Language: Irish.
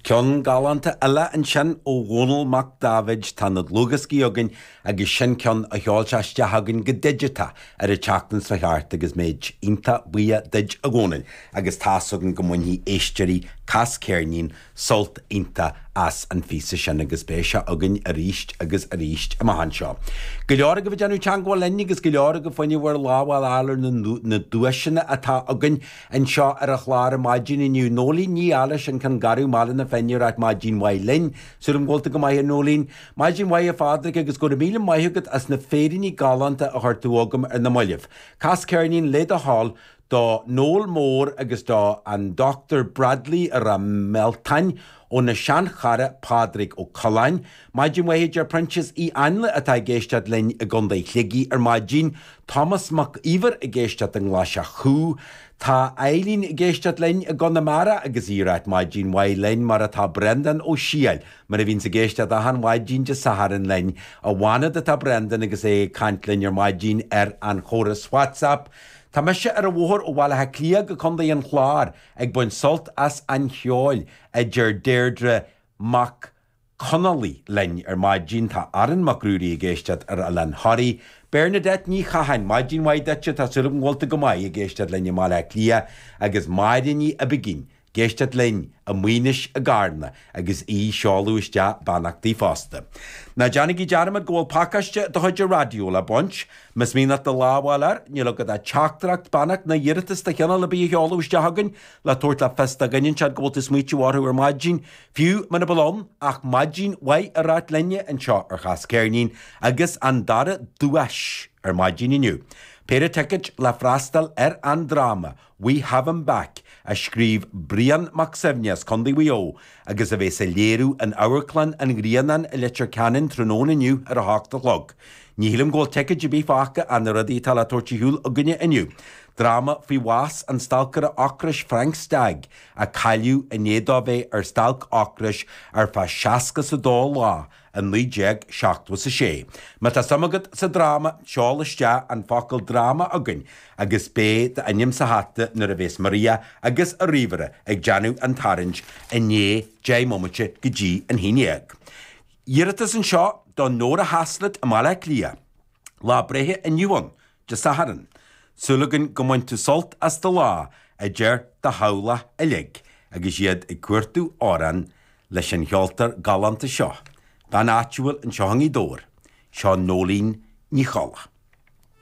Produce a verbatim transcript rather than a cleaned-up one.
Ceann galánta eile ansin ó Dhónall Mac Daibhéid tá na dlúthdhioscaí againn agus sin ceann a sheol sé isteach againn go digiteach ar an tseachtain seo thart agus muid iontach buíoch duit a Dhónaill agus tá's againn go mbainfidh éisteoirí Cas Ceirnín sult iontach as an phíosa sin agus beidh sé againn arís agus arís amach anseo. Go leor agaibh ag déanamh teagmháil linn agus go leor agaibh fá choinne bhur lámh a fháil ar na duaiseanna atá againn anseo ar an chlár ar maidin inniu. Nóilín Ní Fhailís an Ceann Garbh Baile na Finne ag ráit maidin mhaith linn, Súil go bhfuil tú go maith a Nóilín. Maidin mhaith a Phádraig agus go raibh míle maith agat as na féiríní galánta a chuir tú agam ar na mallaibh. Cas ceirnín le do thoil do Noel Mór agus do an Dr Bradley i Ráth Mealtain óna seanchara Pádraig Ó Coileáin, Maidin mhaith a deir Proinsias Uí Ainle atá ag éisteacht linn i gContae Shligigh ar maidin, Thomas Mac Íomhair ag éisteacht i nGlaiseach Chú, Tá Eileen ag éisteacht linn i gConamara agus í ag ráit maidin mhaith linn mar atá Brendan Ó Siail, mar a bhíonns ag éisteacht achan mhaidin Dé Sathairn linn, i bhFanad atá Brendan agus é ag caint linn ar maidin ar an chóras WhatsApp. Tá mise ar an bhóthar ó Bhaile Átha Cliath go Contae an Chláir ag baint sult as an cheol a deir Deirdre Mac Conallaigh linn ar maidin tá Aaron Mac Ruairí ag éisteacht ar Oileán Thoraí, Bernadette Ní Chatháin, maidin mhaith duit tá súil agam go bhfuil tú go maith ag éisteacht linn i mBaile Átha Cliath agus Máire Ní Oibigín, ag éisteacht linn i Maínis i gCarna agus í ag seoladh isteach beannachtaí fosta. Ná déanaigí dearmad go bhfuil pacáiste de chuid an raidió le baint, Más mian leat do lámh a fháil air, níl agat ach teachtaireacht, beannacht ná iarratas de chineál ar bith a sheoladh isteach chugainn le tabhairt le fios do dhuine inteacht go bhfuil tú ag smaoitiú orthu ar maidin, fiú muna bhfuil ann ach maidin mhaith a ráit linne anseo ar Chas Ceirnín agus an dara duais ar maidin inniu. Péire ticéad le freastal ar an dráma We Have Him Back a scríobh Brian Mac Suibhne as Contae Mhaigh Eo agus a bheas á léiriú in Amharclann an Ghrianáin i Leitir Ceanainn tráthnóna inniu ar a hocht a chlog. Ní shílim go bhfuil ticéid ar bith fágtha as na rudaí atá le tabhairt ar shiúl againne inniu. Dráma faoi bhás an stailceora ocrais Frank Stagg a cailleadh i ndiaidh dó bheith ar stailc ocrais ar feadh seasca is a dó lá i naoi déag seachtó is a sé. Má tá suim agat sa dráma, seol isteach an focal dráma chugainn agus beidh d'ainm sa hata nuair a bheas Maria agus a ríomhaire ag déanamh an tarraingt i ndiaidh deich mbomaite go dtí an haon déag. Iarratas anseo do Nóra Haslett i mBaile Átha Cliath. Lá breithe inniu ann, Dé Sathairn. Súil againn go mbain tú sult as do lá, a deir do theaghlach uilig agus iad ag cuartú amhrán leis an cheoltóir galánta seo. Bean áitiúil anseo i nGaoth Dobhair, seo Nóilín Ní Cholla.